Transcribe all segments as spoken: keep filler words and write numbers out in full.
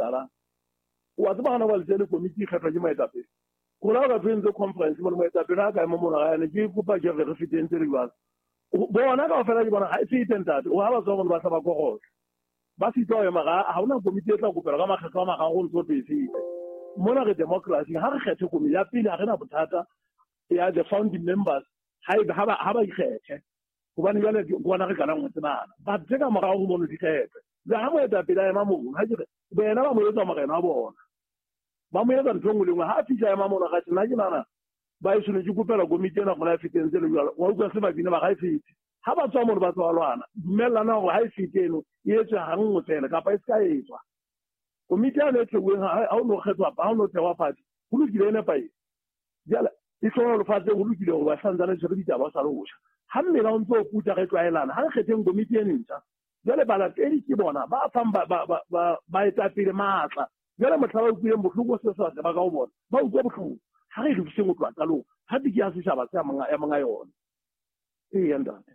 etsahalang. Wa tseba hana ba le tsele komiti e kgethwa ke moetapele. Rona re tshwentse conference mo moetapele a ka ema mona ga ene ke kopa ke re re feteng tse le jwalo. Bona kaofela ke bona ha e fete ntate. O ha ba tswa ba tla ba korotla. Ba sitwa ho ema ga ha hona komiti e tla kopelwa ka makgetlo a mararo ho ntso e fete. Mona re democracy ha re kgethe komiti ya pele ha re na bothata ya the founding members ha e ha ba ha ba ikgethe. Hobane jwale ke bona re qalang ho tsebana. Ba tse ka morao ho mono di kgethwe. Le ha moetapele a ema mono ha ke re bena ba mo etsa morena wa bona. Ba mo etsa ntho e nngwe le nngwe ha a fihla ema mono ga nna ke nahana ba e tshwanetse kopela komiti ena gona e feteng tse le jwalo. Wa utlwa se ba bina ba ga e fete. Ha ba tswa mono ba tswa lwana. Dumellana hore ha e fete eno e etswe ha nngwe fela kapa e se ka etswa. Komiti ya e theuweng ha o no kgethwa ha o no thehwa fatshe ho lokile e nepahetse. Jwale e hlohonolofatse ho lokile hore ba santsane tshwere ditaba sa le botjha. Ha mmela o ntso o puta re tlwaelana ha re kgetheng komiti e ntjha. Jwale balatedi ke bona ba fang ba ba ba baetapele matla. Jwale mohla ba utlwileng bohloko se sa ba ka ho bona ba utlwa bohloko. Ha re lokiseng ho tloha qalong ha ke ya setjhaba se ya monga ya monga yona. Eya ntate.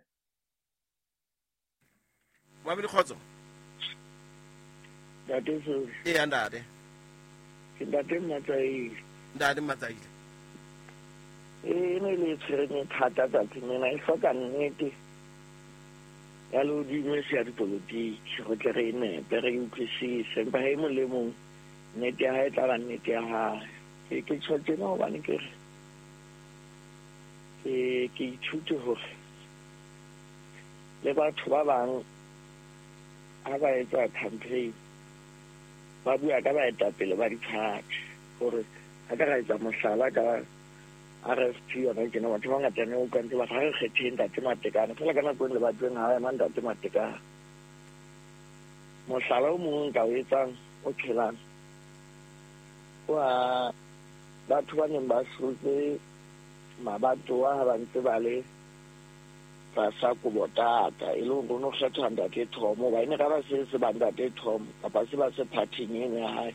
Mamedi kgotso. Ntate Soli. Eya ntate. Ke ntate Matsaile. Ntate Matsaile. E ne le tshwereng thata tsatsing lena e hloka nnete ya lehodimo e se ya dipolotiki go tle re e nepe re e utlwisise empa ha e mong le mong nnete ya hae e tla ba nnete ya hae. Ke ke tjho tjena hobane ke re ke ke ithute hore le batho ba bang ha ba etsa campaign ba bua ka baetapele ba diphathi hore ha ka ra etsa mohlala ka R F P yona tjena batho ba bangata ne o utlwa ntse ba re ha re kgetheng ntate Matekane fela ka nako e le batleng ha ema ntate Matekane. Mohlala o mong nka o etsang o phelang wa batho ba neng ba hlotse mabatowa ha ba ntse ba le tlasa kobotata e le hore o no kgethwa ntate Tom hoba e ne ka ba se se ba ntate Tom kapa se ba se phathing eno ya hae.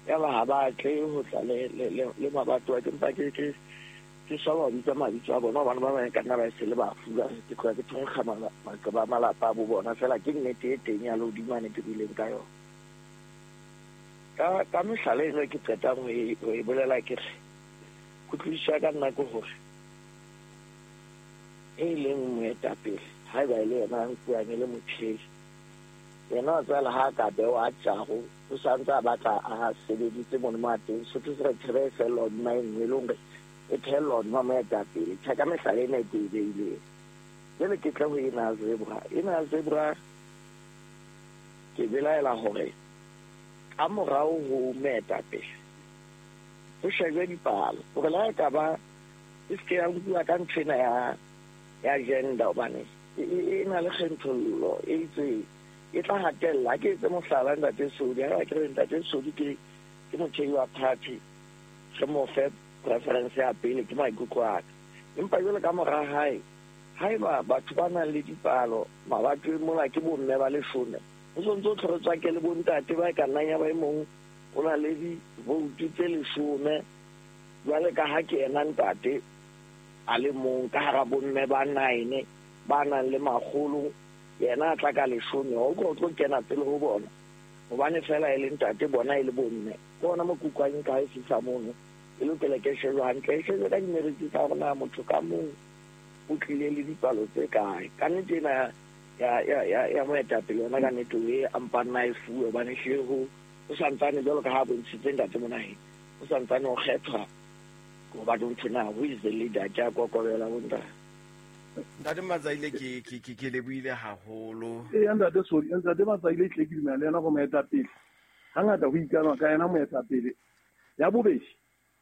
Ya ba ha ba tle ho tla le le le mabatowa ke mpa ke ke ke swaba ho bitsa mabitso a bona hobane ba bang ka nna ba se le bafu ba ke tloha ke thonkga maqeba a malapa a bo bona fela ke nnete e teng ya lehodimo ane ke buileng ka yona. Ka ka mehlala eno ke qetang ho e ho e bolela ke re kutlwisiso ya ka nna ke hore e leng moetapele haeba e le yena a nkuwang e le mothehi yena wa tswela ha ka bewa a tjago o santse a batla a sebeditse mono mo a teng Sotho se re thebe e fellwa hodima e nngwe e le hore e thehellwa hodima moetapele. Tjhe ka mehlala ena e ke e beileng. Jwale ke tle ho ena ya zebra. Ena ya zebra ke belaela hore ka morao ho moetapele ho shejwe dipalo hore le ha e ka ba e se ke ya nkuwa ka nthwena ya ya gender hobane e na le kgethollo e itseng e tla hatella. Ke etse mohlala ntate Soli ha ke re ntate Soli ke ke mothehi wa party re mo fe preference ya pele ke maikutlo a ka empa jwale ka mora hae haeba batho ba nang le dipalo mabatoweng mona ke bomme ba leshome ho sontso o tlhoretswa ke le bontate ba ka nnang ya ba e mong o na le divoutu tse leshome jwale ka ha ke ena ntate a le mong ka hara bomme ba nine ba nang le makgolo yena a tla ka leshome o tlo tlo kena pele ho bona hobane fela e le ntate bona e le bomme ke ona mo kukwang ka e fihla mono e lokela ke shejwe hantle e shejwe ka dimeriti tsa hore na motho ka mong o tlile le dipalo tse kae. Ka nnete ena ya ya ya ya moetapele yona ka nnete o e a mpa nna e fuwe hobane hlile ho o santsane jwalo ka ha bontshitse ntate Monaheng o santsane o kgethwa hobane ntho na who is the leader ke a kokobela bontate. Ntate Matsaile ke ke ke ke lebohile haholo. Eya ntate Soli, ntate Matsaile tle ke dumela le yena go moetapele. Hangata ho ikanwa ka yena moetapele. Ya bobedi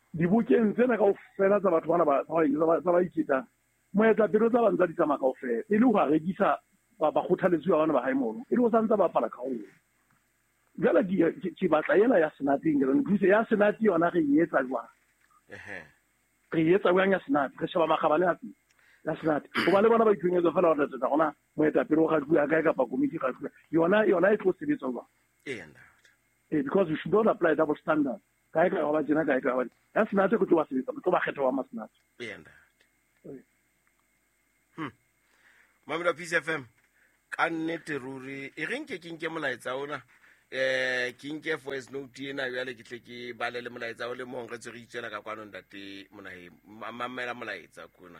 dibokeng tsena kaofela tsa batho bana ba tsa ba iketang moetapele o tla ba ntsa di tsamaya kaofela e le ho a rekisa ba ba kgothaletsuwa bana ba hae mono e le ho santsa ba bapala karolo. Jwale ke ke batla ena ya senateng ke re nthuse ya senate yona re e etsa jwang? Ehe. Re e etsa jwang ya senate? Re sheba makgabane a teng ya senate. Hoba le bona ba itshwenyetsa fela hore tsa rona moetapele o kgatluwa kae kapa komiti e kgatluwa. Yona yona e tlo sebetsa jwang? Eya ntate. Eh because we should not apply double standard. Kae kae ba tjena kae kae ba. Ya senate go tlo ba sebetsa, go tlo ba kgetha wa masenate. Eya ntate. Hmm. Mamela Peace F M ka nnete ruri e re nke ke nke molaetsa ona Eh ke nke voice note ena jwale ke tle ke bale le molaetsa o le mong re tswe re itswela ka kwano ntate Monaheng. Mamela molaetsa kona.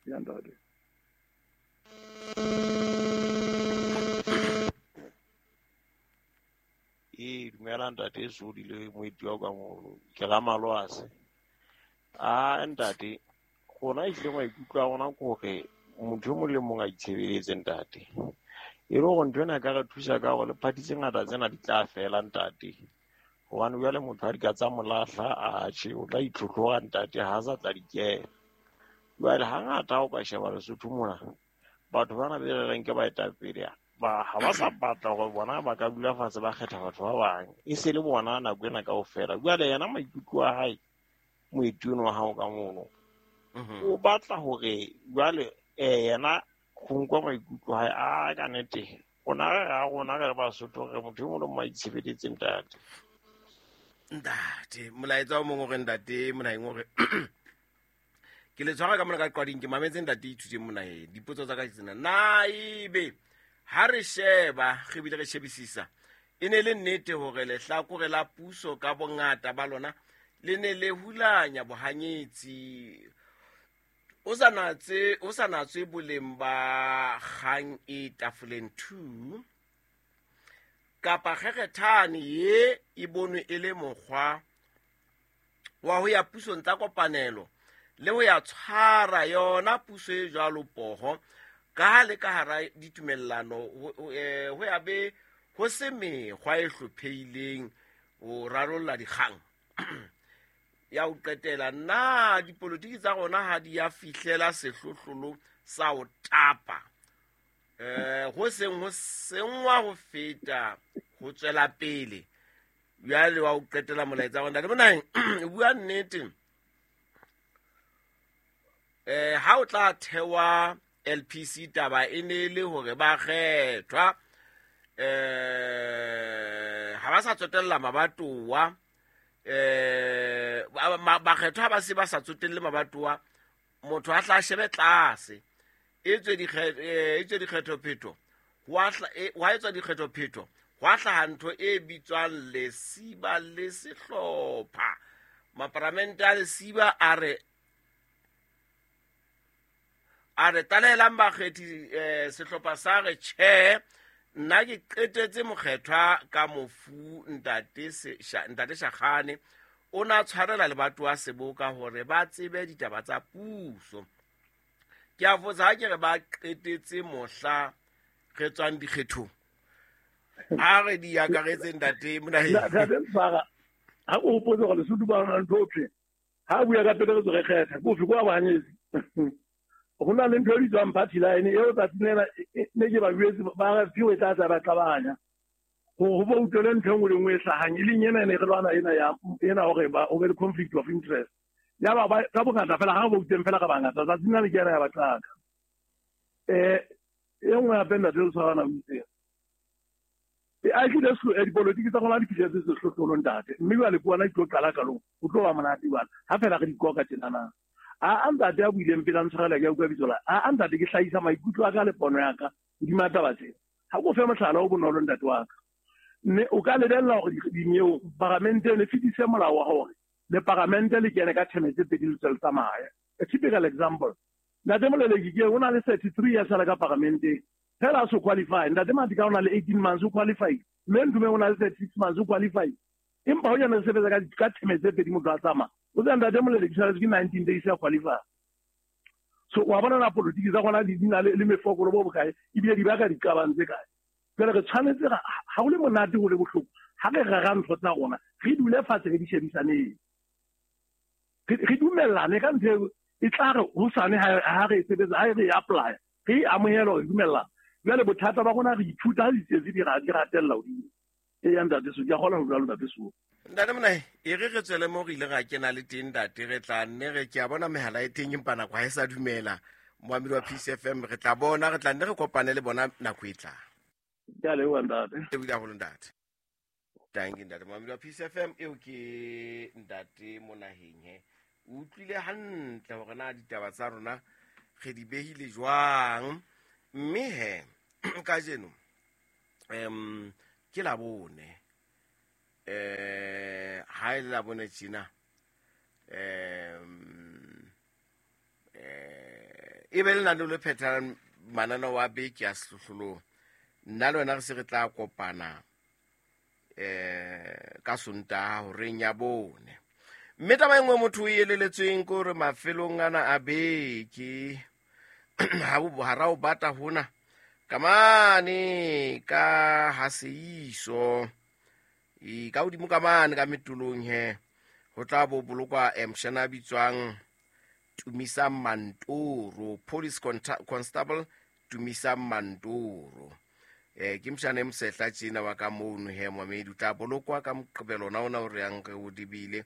Ya ntate. E dumela ntate Sodi le moeti wa ka mo ke la Malwase. A ntate rona ehlile maikutlo a rona ke hore motho e mong le mong a itshebeletse ntate. E le hore ntho ena e ka re thusa ka hore le party tse ngata tsena di tla fela ntate. Hobane jwale motho ha di ka tsa mo lahla atjhe o tla itlhotlhora ntate ha sa tla di kena. Jwale hangata ha o ka sheba Lesotho mona batho bana be re reng ke baetapele ba ha ba sa batla hore bona ba ka dula fatshe ba kgetha batho ba bang e se le bona nako ena kaofela. Jwale yena maikutlo a hae moeti ono wa hao ka mono o batla hore jwale yena ho nkwa maikutlo hae a ka nnete rona re a rona re Basotho re motho e mong le mong a itshebeletse ntate. Ntate molaetsa o mong o re ntate Monaheng o re ke le tshwara ka mona ka qwading ke mametse ntate Ithuteng Monaheng dipotso tsa ka ke tsena na ebe ha re sheba re bile re shebisisa e ne le nnete hore lehlakore la puso ka bongata ba lona le ne le hulanya bohanyetsi o sa natse o sa natswe boleng ba kgang e tafoleng two kapa kgekgethane ye e bonwe e le mokgwa wa ho ya pusong tsa kopanelo le ho ya tshwara yona puso e jwalo poho ka ha le ka hara ditumellano ho ya be ho se mekgwa e hlopheileng ho rarolla dikgang. Ya ho qetela na dipolotiki tsa rona ha di ya fihlela sehlohlolo sa ho tapa eh ho seng ho sengwa ho feta ho tswela pele. Jwale wa ho qetela molaetsa wa ntate Monaheng o bua nnete eh ha o tla thewa L P C taba e ne le hore ba kgethwa eh ha ba sa tsotella mabatowa eh ba kgethwa ba se ba sa tsotelle mabatowa motho a tla shebe tlase e tswe dikgetho e tswe dikgethophetho wa wa etswa dikgethophetho hwa hlaha ntho e bitswang lesiba le sehlopha maparamente a lesiba a re a re talelang bakgethi eh sehlopha sa re tjhe nna ke qetetse mokgethwa ka mofu ntate ntate Shakgane o na tshwarela lebato wa seboka hore ba tsebe ditaba tsa puso. Ke a fotsa ha ke re ba qetetse mohla re tswang dikgethong a re di akaretse ntate Monaheng. Ntate Mfara ha o hopotse hore Lesotho ba rona ntho ofe ha bua ka pele re tswe re kgetha ko fe kwa bahanyetsi ho na le ntho e bitswang party line eo tsatsing lena ne ke ba jwetse ba re fiwe tla tla ba qabanya ho bo utlwele ntho e nngwe le nngwe e hlahang e leng ena ne re lwana ena ya ena hore ba o be le conflict of interest ya ba ba ka bongata fela ha ba utlweng fela ka bangata tsatsing lena ke ena ya ba qaka eh e nngwe hape ntate o tshwarana o itse e a tlile se dipolotiki tsa rona di fihletse sehlohlolong ntate mme jwale ke bona di tlo qala kalong ho tlo ba monate jwale ha fela re di koka tjenana a ntate a buileng pele a ntshwarela ke a utlwa bitso la a ntate ke hlahisa maikutlo a ka le pono ya ka hodima taba tsena ha ko fe mohlala o bonolo ntate wa ka mme o ka lebella hore dinyewe paramente le fetise molao wa hore le paramente le kene ka theme tse pedi le tswe tsamaya. A typical example ntate Moleleki ke o na le thirty-three years a le ka paramenteng fela a so qualify ntate Matika o na le eighteen months o qualify mme Ndume o na le thirty-six months o qualify empa ho yona re sebetsa ka ka theme tse pedi motho a tsamaya o tsa ntate Moleleki tshwanetse ke nineteen days ya qualify. So wa bona na politiki tsa rona di na le mefokolo bo bokae ebile di baka diqabang tse kae. Jwale re tshwanetse ha ho le monate ho le bohloko ha re rera ntho tsa rona re dule fatshe re di shebisaneng re dumellane ka ntho e tla re hosane ha re sebetsa ha re apply re amohele re dumellana. Jwale bothata ba rona re ithuta ha ditsietsi di ratella hodimo e ya ntate so ke a kgona ho bua le ntate so. Ntate Monaheng e re re tswele mo re ile ra kena le teng ntate re tla nne re ke a bona mehala e teng empa nako ha e sa dumela moamedi wa P C F M re tla bona re tla nne re kopane le bona nako e tlang. Ke a leboha ntate. Ke bile haholo ntate. Thank you ntate moamedi wa P C F M eo ke ntate Monaheng he o utlwile hantle hore na ditaba tsa rona re di behile jwang mme he kajeno em ke la bone Eh ha ile la bone tjena em eh e be le nang le phethang manana wa beke ya sehlohlolong. Nna le wena re se re tla kopana eh ka Sontaha horeng ya bone. Mme taba e nngwe motho o eleletsweng ke hore mafelong ana a beke ha bo hara o bata hona kamane ka haseiso e ka hodimo ka mane ka metolong he ho tla bo bolokwa mshana a bitswang Tumisa Mantoro, police constable Tumisa Mantoro. Eh ke mshana e mosehla tjena wa ka mono he momedi o tla bolokwa ka Moqebelo ona ona o re yang re o dibile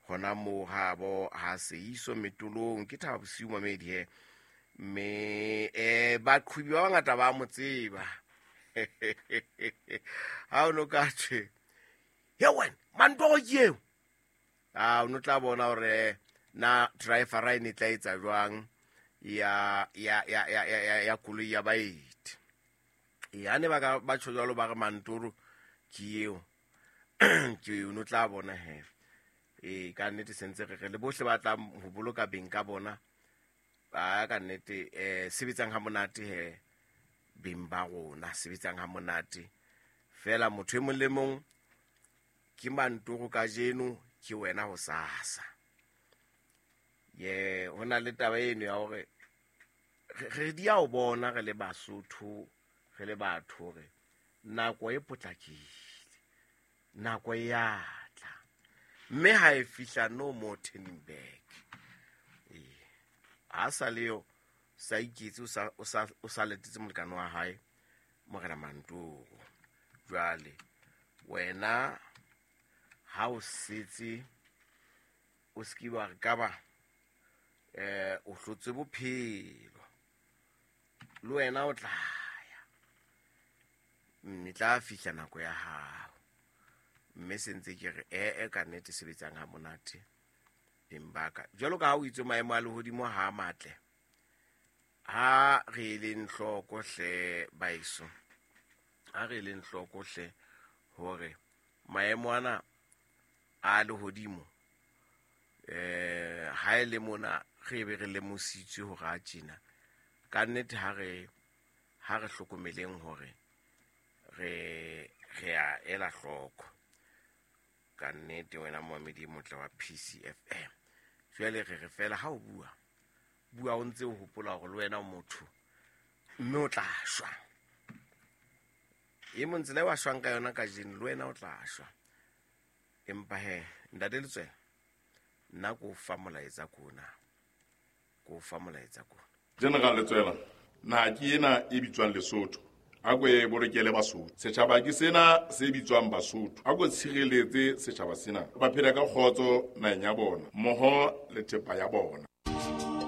hona moo habo ha seiso metolong. Ke thaba bosiu momedi he mme eh baqhubi ba bangata ba mo tseba. Ha o no ka thwe he wena Mantoro ke eo, ah o no tla bona hore na driver e ne tla etsa jwang ya ya ya ya ya ya koloi ya baeti. Ya ne ba ka ba tjho jwalo ba re Mantoro ke eo ke o no tla bona he e ka nnete sentse re re le bohle ba tla ho boloka beng ka bona ba ka nnete eh sebetsang ha monate he beng ba rona sebetsang ha monate fela. Motho e mong le mong ke Mantoro kajeno ke wena ho sasa. Ye hona le taba eno ya hore re di ya o bona re le Basotho re le batho hore nako e potlakile, nako e ya tla mme ha e fihla no more turning back. Eh ha sa leo sa iketse o sa o sa o sa letetse molekane wa hae morena Mantoro. Jwale wena ha o setse o ske wa re ka ba eh o hlotse bophelo le wena o tla ya mme tla fihla nako ya hao. Mme sentse ke re e e ka nnete sebetsang ha monate beng ba ka. Jwalo ka ha o itse maemo a lehodimo ha matle, ha re leng hloko hle baeso, ha re leng hloko hle hore maemo ana a lehodimo eh ha e le mona re be re lemositswe hore a tjena ka nnete ha re ha re hlokomeleng hore re re a ela hloko ka nnete. Wena momedi motle wa P C F M, jwale re re fela ha o bua bua o ntse o hopola hore le wena o motho mme o tla shwa. E mong tsela e wa shwang ka yona kajeno le wena o tla shwa. Empa he ntate Letswela nna ko fa molaetsa kona ko fa molaetsa kona. General Letswela, naha ke ena e bitswang Lesotho, a ko e bolokele Basotho. Setjhaba ke sena se bitswang Basotho, a ko tshireletse setjhaba sena, ba phela ka kgotso naheng ya bona mmoho le thepa ya bona.